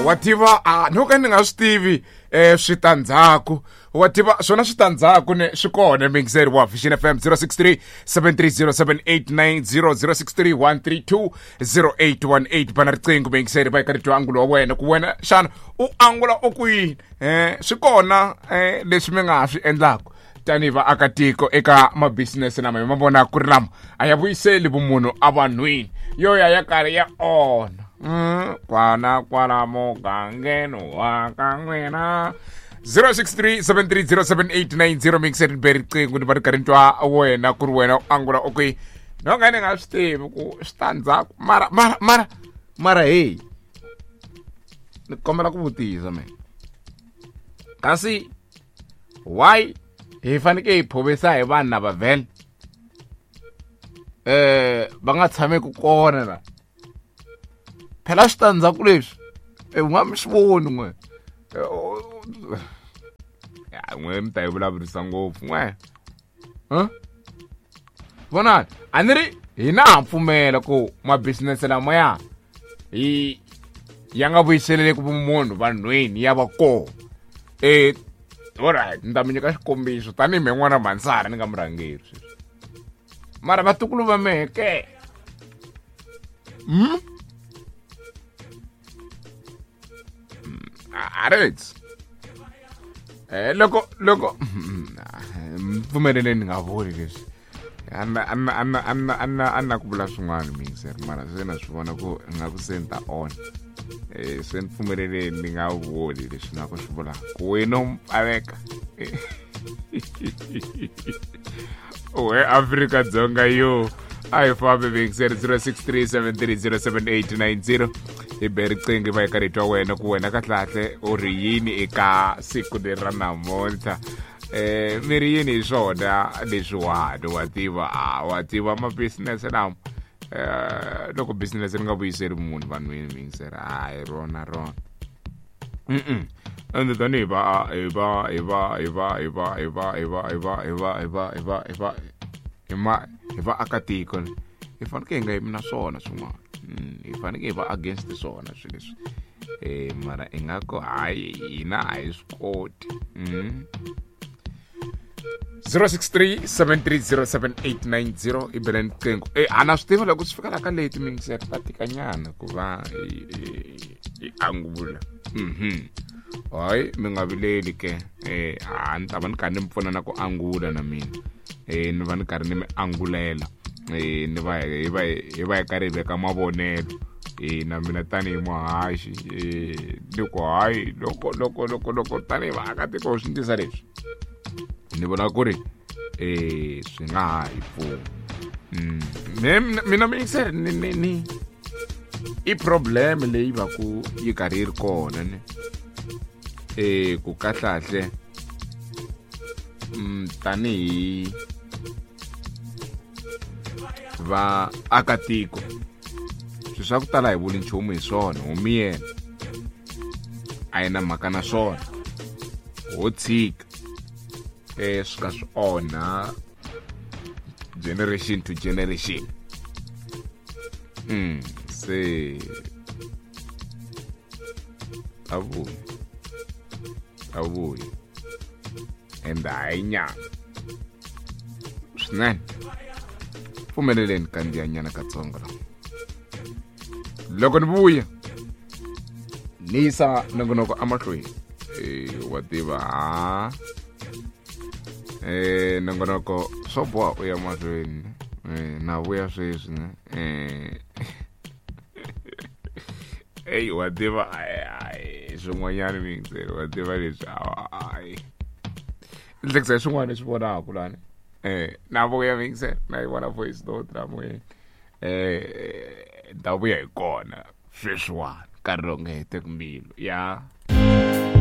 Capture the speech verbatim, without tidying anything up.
Wa tiva a no ka ni nga swi tivi eh switandzhaku. Wa tiva swona switandzhaku ne swi kona mixer wa Vision F M zero six three seven three zero seven eight nine zero zero six three one three two zero eight one eight bana riqingho mixer va ka rito angulo wa wena ku wena xana u angula u ku yini eh swi kona eh leswi mi nga swi endlaka tanihi vaakatiko eka mabisinese lama hi ma vona ku ri lama a ya vuyiseli vumunhu evanhwini yo ya ya karhi ya onha mm kwana kwala mugangeni wa ka n'wina zero six three seven three zero seven eight nine zero mixer ni be riqingho ni va ri karhi ni twa wena ku ri wena u angula u kwihi no nga ni nga swi tivi ku switandzhaku mara mara mara mara hey ni kombela ku vutisa me kasi why hi faneke hi phovisa hi vanhu lava vhele eh va nga tshameki kona la phela switandzhaku leswi u nga mi swi voni n'we ya n'we mi ta yi vulavurisa ngopfu n'we huh? Vonani a ni ri hina ha pfumela ku mabisinese lamaya hi ya nga vuyiseleleki vumunhu vanhwini ya va kona eh alright ni ta mi nyika xikombiso tanihi me n'wana Mansara ni nga murhangeri sweswi mara vatukulu va mehe ke mm? Alright eh loko loko pfumeleleni ni nga vuli leswi anna anna anna anna anna anna ku vula swin'wana mixer mara se na swi vona ku nga ku se ni ta on eh se ni pfumeleleni ni nga vuli leswi na ku swi vula ku wena u mpfaleka we Afrika Dzonga yo a hi fambi mixer zero six three seven three zero seven eight nine zero hi be riqingho va hi karhi twa wena ku wena kahlekahle u ri yini eka siku leri ra namuntlha eh mi ri yini hi swona leswiwani wa tiva a wa tiva mabisinese lama eh loko business ri nga vuyiseli munhu vanhwini mixer hayi rona rona mm ende tanihi va hi va hi va hi va hi va hi va hi va hi va hi va hi va hi va hi va hi ma hi vaakatiko hi fanekele hi nga yimi na swona swin'wana hi fanekele hi va against swona swilo leswi eh mara ingaku hayi hina a hi swi koti zero six three seven three zero seven eight nine zero i bele riqingho eh a na swi tiva loko swi fika la ka leti mixer ta tikanyana ku va hi angula mhm hayi mi nga vileli ke eh a ni ta va ni karhi ni mi pfuna na ku angula na mina eh ni va ni karhi ni mi angulela eh ni va hi va hi va hi karhi hi veka mavonelo eh na mina tanihi muhaxi eh ni ku hayi loko loko loko loko tanihi vaakatiko swi ndlisa leswi ni vona ku ri eh swi nga ha hi pfuna mm mina mixer ni ni ni i problem leyi va ku yi karhi yi ri kona ni eh ku kahlahle mm tanihi va akatiko swilo swa ku tala hi vuli nchumu hi swona homi yena a yi na mhaka na swona ho tshika eh swi ka swi onha generation to generation mm se avuyi avuyi ende hayi nyama swinene pfumeleleni kandziyanyana katsongo la loko ni vuya ni yisa nongonoko emahlweni eh wa tiva ha eh nongonoko swo boha u ya mahlweni eh na vuya sweswi ne eh ey wa tiva ai swin'wanyana mixer wa tiva leswi ai ndlekisa swin'wana leswi vonaka lani eh na vuya mixer na yi vona voice note la moyeni eh ta vuya hi kona sweswiwani nkarhi lowu nga heteki mbilu ya.